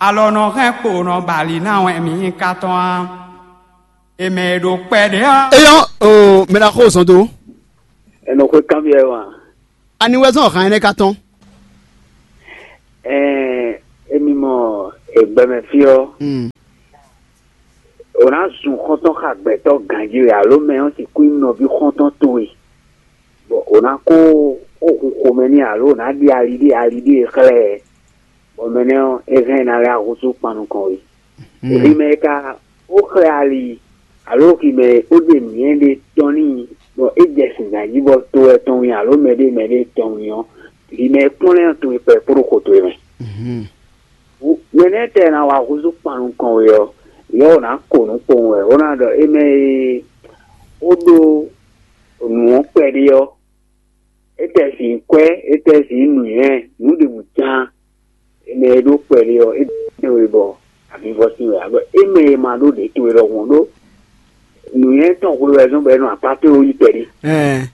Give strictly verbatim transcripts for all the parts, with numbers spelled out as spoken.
Alɔ nɔ hɛn kpo nɔ bali ná wɛ mǐ nyí ka tɔn á. È mɛ e ɖo kpɛɖé ɔ́. Eyɔn o mɛ ɖaxó zɔn dó. Enɔ xwé kanbyɔ́ ɛ wá. Ani wɛ zɔn hàn ɛnɛ ka tɔn? Ɛɛ, emi mɔ egbɛmɛ fí ɔ́, Mm. O ná zun xɔ́ntɔn xa gbɛtɔ́ ganjí wɛ alo mɛ ɔ́ sixú nyí nɔví xɔ́ntɔn towe, bɔ o ná kó xó hun xomɛ n'i alo o ná ɖe ali ɖé ali ɖé e xlɛ́ ɛ, bɔ mɛ nɛ́ ɔ́, é hɛn ná lɛ́ ahúsú kpan nukɔn we. Hwi mɛ e ka ó xlɛ́ ali alo hwi mɛ e ó ɖe nǔnywɛ́ ɖé tɔn n'i, bɔ é jɛ sin ganjí bɔ to wɛ tɔn win alo mɛɖé mɛɖé tɔn win ɔ́, hwi mɛ e kplɔ́n lɛ́ɛ ɔ́ towe kpɛ kpódó xo towe mɛ. Mɛ nɛ́ tɛ ná wá húzú kpan nukɔn we ɔ́, yɛ wǒ ná ko nǔ kpowun wɛ, wó ná ɖɔ émɛ e ó ɖó nǔ ɔ́ kpɛɖé ɔ́, é tɛ sin kwɛ́, é tɛ sin nǔnywɛ́, nǔ ɖěbǔ cán, émɛ e ɖó kpɛɖé ɔ́, é ɖe we bɔ avivɔ sín wɛ, agbɔ émɛ e ma ɖó ɖě towe ɖɔhun ɔ́ ɖó nǔnywɛ́ tɔn hwe wɛ zɔ́n bɔ é nɔ akpá towe wú yi kpɛɖé. Ɛɛ.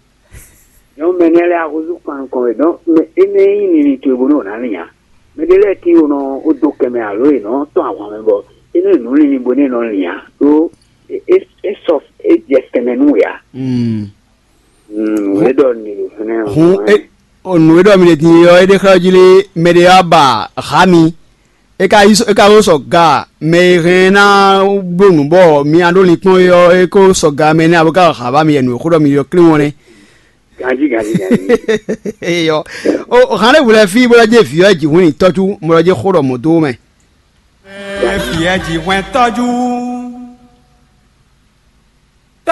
Nyɔ̌nu mɛ nɛ́ lɛ́ɛ axúzú kpan nukɔn wɛ, dɔn mɛ énɛ́ nyí linlin towe bónú ɔ́ ná lin ǎ. Mɛ ɖé lɛ́ɛ tíin nɔ ó dó kɛ mɛ alo è nɔ tɔ́n ahwan mɛ bɔ é nɔ nǔ linlin bónú è nɔ lin ǎ, ɖó é é é sɔ é jɛ tɛnmɛ nú wě ǎ. Mm. Mm, nǔ e ɖɔ nǔ ɖo fínɛ́ ɔ́, Hǔn é, o nǔ e ɖɔ mi ɖe din ɔ́, é ɖe xlɛ́ ɔ́ jí lé, mɛ ɖé wá ba hǎ mi, é ka yí é ka ko sɔ ga mɛ e hɛn ná bló nǔ bɔ mi ná ɖó linkpɔ́n é ɔ́, é ko sɔ ga mɛ nɛ́ abo ka hǎ ba mi yɛ nǔ e xó ɖɔ mi ɖɔ klín ɔ́ nɛ́. Ganjí, ganjí, ganjí. Eyɔ. O hǎn ɖé hwlɛ́ fí bó lɛ́ jɛ vǐ ɔ́ jǐ hwín tɔ́jú, mɔ lɔ jɛ xó ɖɔ mɔ̌ dó mɛ. Fiyɛ jǐ hwɛn tɔ́jú.